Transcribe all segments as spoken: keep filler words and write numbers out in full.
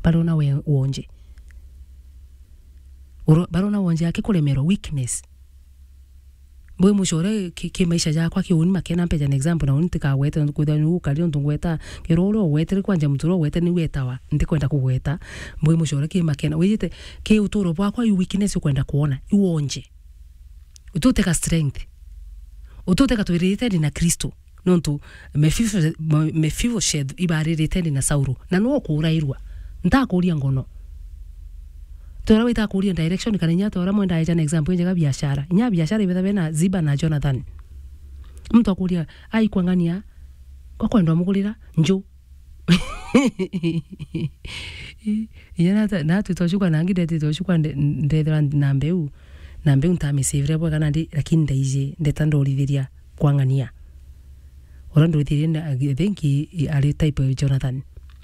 Barona we, wonje. Uro-, barona wonje akikuremerwa, weakness. Mbwi mucore ki, ki maisha jakwa ki uni makena, mpeja an example, na uni ntikagwete, nontu kwithirwa ni ukari, nontu ngweta, kiro uria ugwetire kwanja muntu uria ugwete ni wetawa, ntikwenda kugweta. Mbwi mucore ki makena. Wijite, ki uturo bwakwa, i weakness ukwenda kwona, i wonje. Ututeka strength. Ututeka twirite ndi na Kristo. Nontu Mephibo-, Me-, Mephibosheth ibaririte ndi na Sauro. Na no kurairwa. Ntakuria ngono. Tora wita kuria direction, kana inya tora mwenda eja na example njega biashara. Inya biashara ibetha bena Ziba na Jonathan. Muntu akuria, "Ai, kwang'ania, kwa kwendwa mugurira nju." Inya nata-, natwita ucukwa, nangi ndetite ucukwa nde-, ndethira na mbeu. Na mbeu ntamicivire bwega nandi, lakini ndaiji, ndeta ndorithiria kwang'ania. Uria ndorithirie na, I think, i-, i-, ari type ya Jonathan.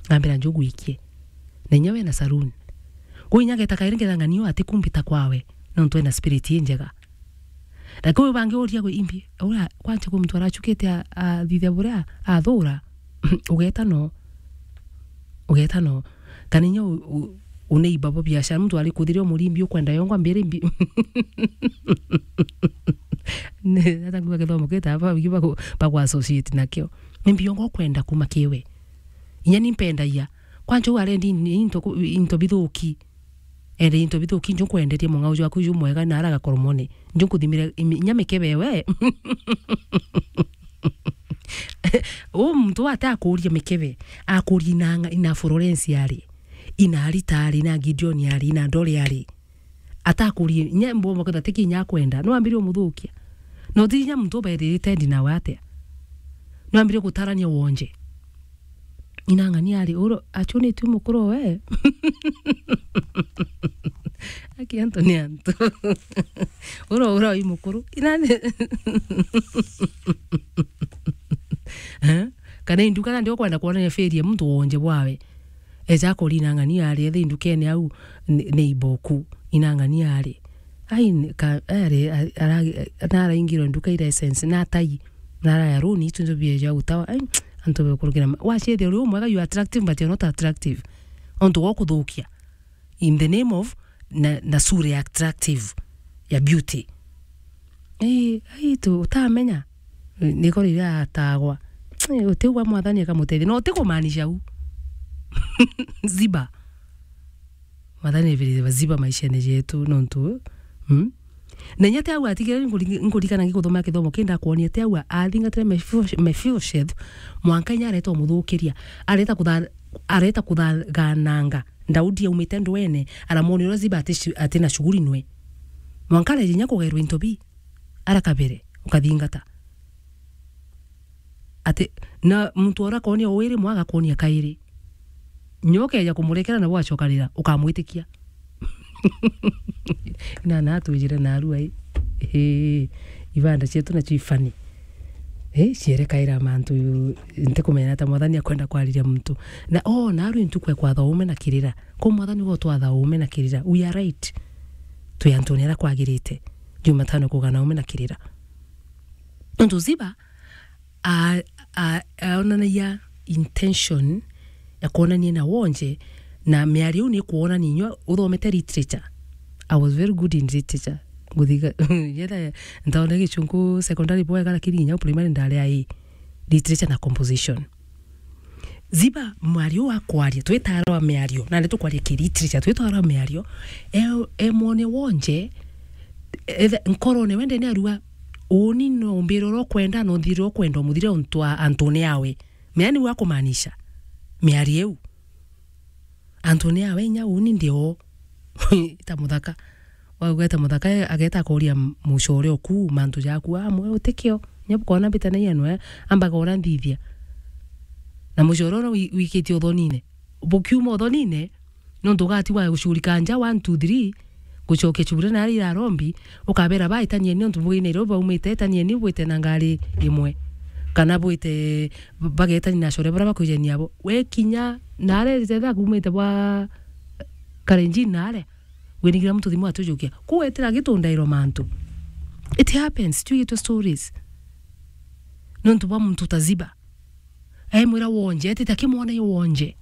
Ambira, "Nju gwikie." Na inya we na saloon. Kwi inya geta kairi ngetha ng'ania ati kumbita kwawe, nontu ena spirit injega. Lakini uyu bangi uria gwi imbi, uria kwanja kwi muntu arachukite a-, athithia buria athura, ugeta no. Ugeta no. Kana inya u-, u-, uneiba bo biashara, muntu ari kuthiria umurimbi ukwenda yongwa mbiri mbi. Ni, hata nguga githomo gita, ba, ba, ba, ba ku associate nakio. Ni mbi yongwa ukwenda kuma kiwe. Inya ni mpendagia. Kwanja u arendi into ku-, into bithuki. Ere into bithuki, nju nkwenderie mung'au jwaku ju mwega na ara gakoromone. Nju nkuthimire imi-, inya mikebe we. U muntu ate akuria mikebe, akuria ina nga-, ina Florence ari, ina Arita ari, ina Gideon ari, ina Ndore ari. Atakuria, inya mbomba kwetha tiki inya akwenda. No ambirie umuthukia. No ti inya muntu uberirite ndi nawe atia. No ambirie gutarania wonje. Inang'ani ari, uro, achunitue mukuru we. Aki antu ni antu. Uro, uro i mukuru. Inani. Eh? Kana induka nandi ukwenda kuonania feri ya muntu wonje bwawe. Eja akori inang'ani ari, ethe indukene au ni, ni iboku. Inang'ani ari. Ai, ni ka, ari, a-, aragi-, naraingirwe nduka ira essence, na tai. Naraya runi, itu njo bieja utawa. Ai, antu bekurukira ma-, waciethia uri umwega, you are attractive, but you are not attractive. Ontu gwa kuthukia. In the name of na, na sura ya attractive, ya beauty. Ii, ai, tu, utamenya. Niko riria atagwa. Ii, utigwa Mwathani akamutethia. No utikumaanisha u. Ziba. Mwathani ebirire baziba maishene jetu, nontu, mm? Na inya ti au atigire, nkuri-, nkurikana ngikuthoma kithomo kii ndakwonia, ti au athingatire Mephibosh-, Mephibosheth, mwanka inya areta umuthukiria, areta kutha-, areta kuthagananga Daudi aumite ndwene, aramwonia uria Ziba ati shu-, ati na shughuli nwe. Mwanka areja inya kugairwa into bi, ara kabere, ukathingata. Ati, na muntu ura akonia uiri mwa agakonia kairi. Nyo ukeja kumurekera nabo acokarira, ukamwitikia. Ina na atwijire narua i. Ii, ibanda cietu nacio ifani. Ii, cierekaira mantu, ntikumenya ta Mwathani akwenda kwariria muntu. Na, o, narua intuku ekwa thaume na kirira. Ko Mwathani ugo twa thaume na kirira. We are right. Twi antune aria kwagirite. Jumatano kuga naume na kirira. Nontu Ziba a-, a-, aonanagia intention ya kwonania na wonje, na miario iu ni kwonania inyua uthomete literature. I was very good in literature. Nguthiga, yetha ntaone Gichunku secondary bwega, lakini nginya primary ndari a literature na composition. Ziba mwario wa kwaria, twitaara wa miario, na ni tukwaria ki literature, twitaara wa miario, e, e mwone wonje, ethe-, nkorone wende ni arua, uni no mbire uria ukwenda, no nthire ukwenda, umuthire untu a-, antune awe. Mea niu akumaanisha, miario iu. Antune awe inya uni ndi o. Ta muthaka. Wauga eta muthaka, ageta akoria m-, mucore oku, mantu jaku, amwe utikio. Inya bukona mbita na ianwe, ambaga uria nthithia. Na mucore uria wi-, wikitie uthonine. Bukiuma uthonine, nontu ugatigwa gucurika nja, one, two, three, gucokia cubure na aria irarombi, ukabera ba, "Itanieni nontu bwina irio baumite, itanieni bwite na ngari imwe." Kana bwite, bagetani na acore baria bakwijania abo. We kinya, na aria ithetha kumite bwa Kalenjin na aria, winigira muntu thimu atujukia. Kuu etira gitundairwa mantu. It happens, twigitwe stories. Nontu bwa muntu ta Ziba. Aimwira wonje, etite akimwona yo wonje.